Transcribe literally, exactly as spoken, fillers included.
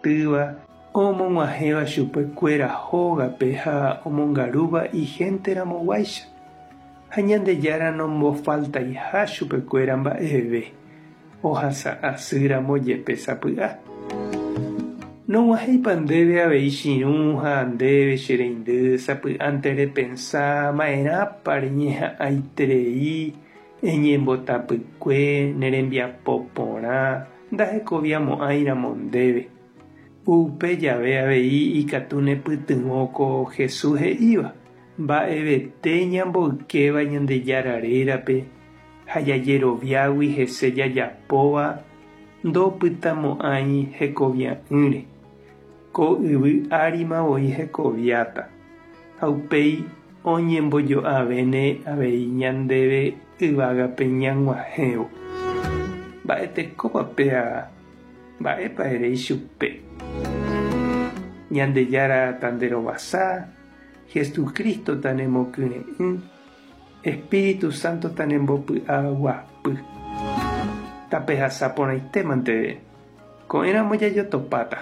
ombyatýva, omog̃uahẽva chupekuéra hógape ha omongarúva ihénteramoguáicha ha Ñandejára nombofaltaiha chupekuéra mba'eve ohasa'asýramo jepe sapy'a. Nog̃uahẽipa ndéve avei che irũ ha ndéve che reindy sapy'ánte repensa ma'erãpa reñeha'ãiterei eñembotapykue ne rembiapo porã ndahekoviamo'ãiramo ndéve. Upe jave avei ikatu nepytyvõ ko Jesús he'íva mba'evete ñamboykéva Ñandejára rérape ha jajeroviágui hese jajapóva ndopytamo'ãi hekovia'ỹre. Ko yvy árima voi hekoviáta ha upéi oñembojo'avéne avei ñandéve yvágape ñag̃uahẽvo. Mba'etekópa péa mba'épa ere ichupe. Ñandejára tanderovasa, Jesucristo tanemokyre'ỹ, Espíritu Santo tanembopy'aguapy. Tapehasa porãitémante ko'ẽramo jajotopáta.